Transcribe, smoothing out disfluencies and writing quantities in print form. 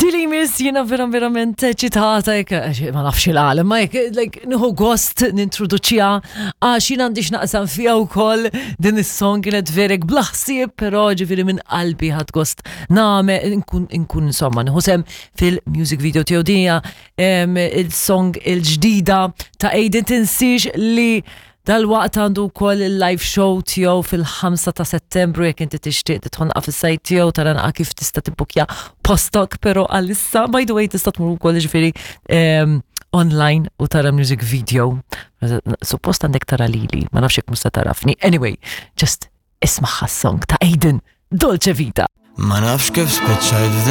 Dili miss jiena vera verament eċitata, ma nafx il-għalem, ma jek, like, nħu gost nintroduċija, għax jien għandi x'naqsam fija wkoll din is-song kienet verek blaħsieb, però ġifieri minn qalbi ħadd gost nagħmel nkun nkun insomma nieħu sem fil-music video tiegħu dinja il-song il-ġdida ta' Aiden tinsiex li Dalwaqt għandu wkoll il-live show tiegħu fil-5 ta' Settembru jekk inti tixtieq tidħol naqaf is-sajt tiegħu tara naqa' kif tista' tibbukja postok, però għalissa by the way tista' tmur ukoll ġifieri ehm, online u tara music video. Suppost għandek tara lili, ma nafx jekk musta tarafni. Anyway, just ismaħħa song ta' Aiden, Dolce Vita. Ma nafx kif spiċċajt.